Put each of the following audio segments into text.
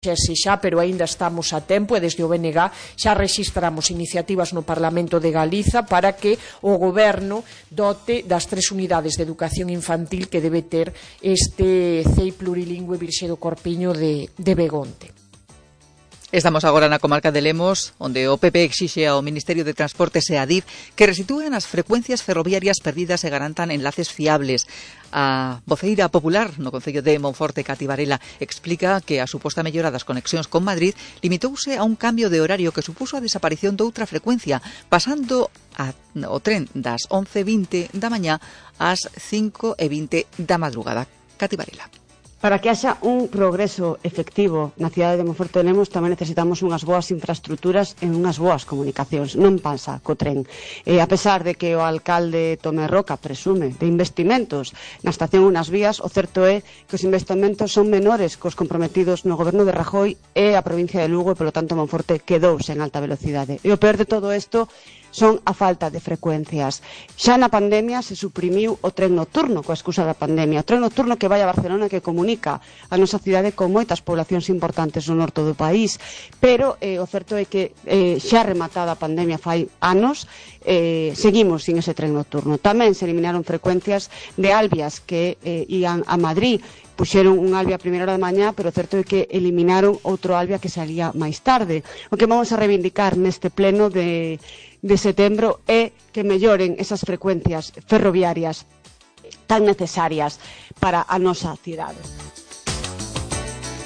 xa, pero aínda estamos a tempo e desde o BNG xa rexistramos iniciativas no Parlamento de Galiza para que o Goberno dote das 3 unidades de educación infantil que debe ter este CEI plurilingüe Virxe do Corpiño de Begonte. Estamos agora na comarca de Lemos, onde o PP exixe ao Ministerio de Transportes e a DIF que restitúen as frecuencias ferroviarias perdidas e garantan enlaces fiables. A voceira popular no Concello de Monforte, Cati Varela, explica que a suposta mellora das conexións con Madrid limitouse a un cambio de horario que supuso a desaparición doutra frecuencia, pasando o tren das 11:20 da mañá ás 5:20 da madrugada. Cati Varela. Para que haxa un progreso efectivo na cidade de Monforte de Lemos tamén necesitamos unhas boas infraestructuras e unhas boas comunicacións. Non pasa co tren. A pesar de que o alcalde Tomé Roca presume de investimentos na estación e nas vías, o certo é que os investimentos son menores cos comprometidos no goberno de Rajoy e a provincia de Lugo e, polo tanto, Monforte quedou sen alta velocidade. E o peor de todo isto son a falta de frecuencias. Xa na pandemia se suprimiu o tren nocturno coa excusa da pandemia. O tren nocturno que vai a Barcelona, que comunica a nosa cidade con moitas poblacións importantes no norte do país. Pero o certo é que xa rematada a pandemia fai anos, seguimos sin ese tren nocturno. Tamén se eliminaron frecuencias de Albias que ían a Madrid. Puxeron un Albia a primeira hora da mañá, pero o certo é que eliminaron outro Albia que salía máis tarde. O que vamos a reivindicar neste pleno de setembro é que melloren esas frecuencias ferroviarias tan necesarias para a nosa cidade.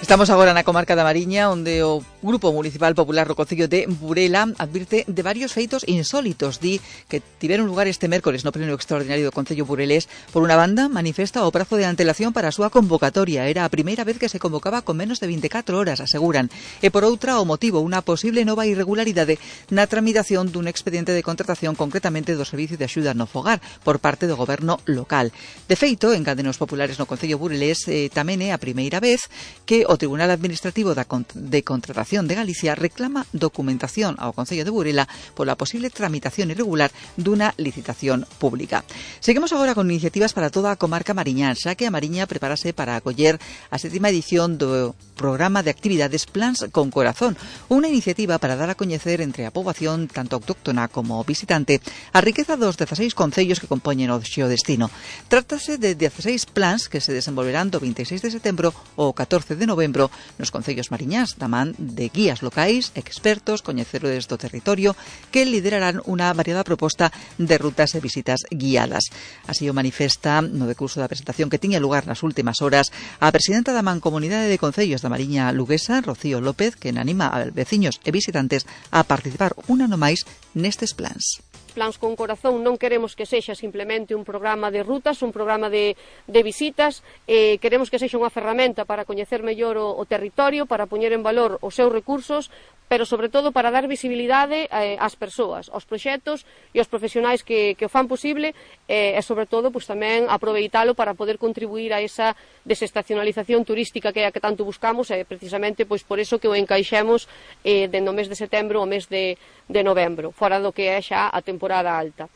Estamos agora na comarca da Mariña, onde o Grupo Municipal Popular do Concello de Burela advirte de varios feitos insólitos. Di que tiveron lugar este mércores no pleno extraordinario do Concello burelés. Por unha banda, manifesta o prazo de antelación para a súa convocatoria. Era a primeira vez que se convocaba con menos de 24 horas, aseguran. E por outra, o motivo, unha posible nova irregularidade na tramitación dun expediente de contratación, concretamente do Servicio de Axuda no Fogar, por parte do goberno local. De feito, en Cadenos Populares no Concello burelés tamén é a primeira vez que o Tribunal Administrativo de Contratación de Galicia reclama documentación ao Concello de Burela pola posible tramitación irregular dunha licitación pública. Seguimos agora con iniciativas para toda a comarca mariñán, xa que a Mariña prepárase para acoller a 7ª edición do programa de actividades Plans con Corazón, unha iniciativa para dar a coñecer entre a poboación, tanto autóctona como visitante, a riqueza dos 16 concellos que compoñen o xeodestino. Trátase de 16 plans que se desenvolverán do 26 de setembro ao 14 de novembro nos concellos mariñás, da man de guías locais, expertos, coñecedores do territorio, que liderarán unha variada proposta de rutas e visitas guiadas. Así o manifesta no decurso da presentación que tiña lugar nas últimas horas a presidenta da Mancomunidade de Concellos da Mariña Luguesa, Rocío López, que anima a veciños e visitantes a participar un ano máis nestes plans. Plans con Corazón non queremos que sexa simplemente un programa de rutas, un programa de visitas, queremos que sexa unha ferramenta para coñecer mellor o territorio, para poñer en valor os seus recursos, pero sobre todo para dar visibilidade ás persoas, aos proxectos e aos profesionais que o fan posible e sobre todo pois, tamén aproveitalo para poder contribuir a esa desestacionalización turística que é a que tanto buscamos e precisamente pois, por eso que o encaixemos dentro do mes de setembro ao mes de novembro, fora do que é xa a temporada alta.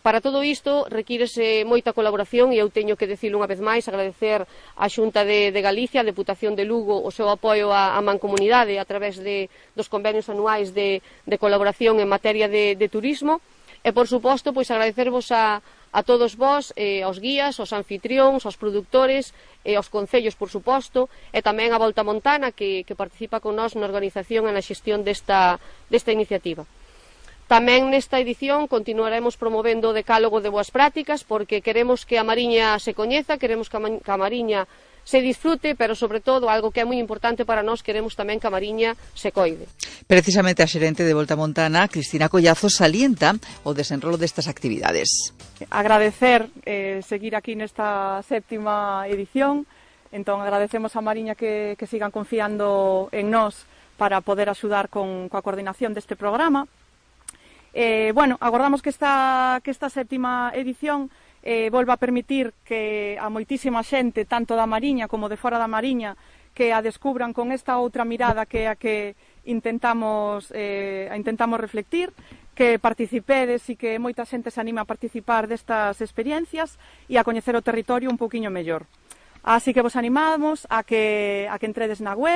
Para todo isto requírese moita colaboración e eu teño que dicilo unha vez máis, agradecer á Xunta de Galicia, a Deputación de Lugo, o seu apoio á mancomunidade a través dos convenios anuais de colaboración en materia de turismo e, por suposto, pois agradecervos a todos vós, aos guías, aos anfitrións, aos produtores, aos concellos, por suposto, e tamén a Volta Montana que participa con nós na organización e na xestión desta iniciativa. Tamén nesta edición continuaremos promovendo o decálogo de boas prácticas porque queremos que a Mariña se coñeza, queremos que a Mariña se disfrute, pero sobre todo, algo que é moi importante para nós, queremos tamén que a Mariña se coide. Precisamente a xerente de Volta Montana, Cristina Collazo, salienta o desenrolo destas actividades. Agradecer seguir aquí nesta 7ª edición, entón agradecemos a Mariña que sigan confiando en nós para poder axudar coa coordinación deste programa. Agardamos que esta 7ª edición volva a permitir que a moitísima xente, tanto da Mariña como de fora da Mariña, que a descubran con esta outra mirada que é a que intentamos reflectir, que participedes e que moita xente se anima a participar destas experiencias e a coñecer o territorio un pouquiño mellor. Así que vos animamos a que entredes na web,